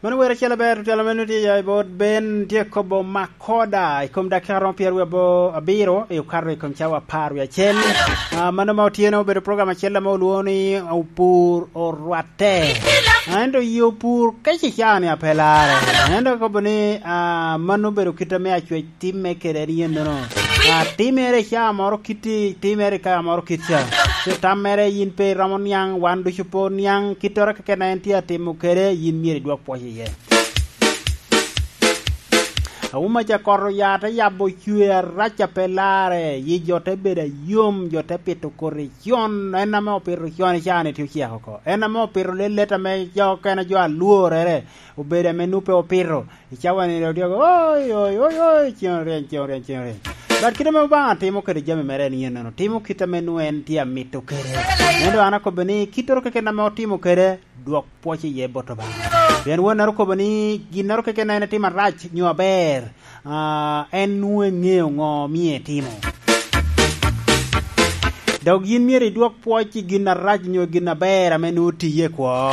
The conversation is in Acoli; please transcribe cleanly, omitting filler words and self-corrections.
Meno wer acel aber tutwal ma nongo tye ya i bot Ben tye kobo makoda i kom dakika romo pyerwiye abiro i okato i kom cawa apar wiye acel. Ah, mano ma otyeno obedo program acel ma olwongo ni Opur Orwatte. Ah, ento i opur kec i cawa ni ape lare. Ento kobo ni ah, mano obedo kite me acwec timme kede ni yen nono. Ah, timere i cawa moro kiti, timere i cawa moro kit ca. Ci tam mere in pe iromo niang, wan ducu pe oniang, kitore keken en tye atimo kede, in myero idwok pwoc iye. Auma ca koto yat eyabo cwer araca pe lare, yi jo te bedo ayom, jo te pito koti con, en ame opito con i caa-ni tye ocek oko. En ame opito lelet ame jo kene jo alworere obedo ame nongo pe opito, i cawa-ni dong tye oi oi oi oi ceng oryeny ceng oryeny ceng oryeny. But kite ma Lubanga timo kwede jami mere en yen eno, timo kite ame nongo en tye amito kwede. Ento an akobbe ni kitoro keken ame otimo kwede, dwok pwoc iye bot Lubanga. Pien wonne okobo ni ginnoro keken ma en etimo arac nyo aber, en nongo engeyo ngo miyo etimo. Dok in myero idwok pwoc i gin arac nyo i gin aber ame nongo otiye i kwo.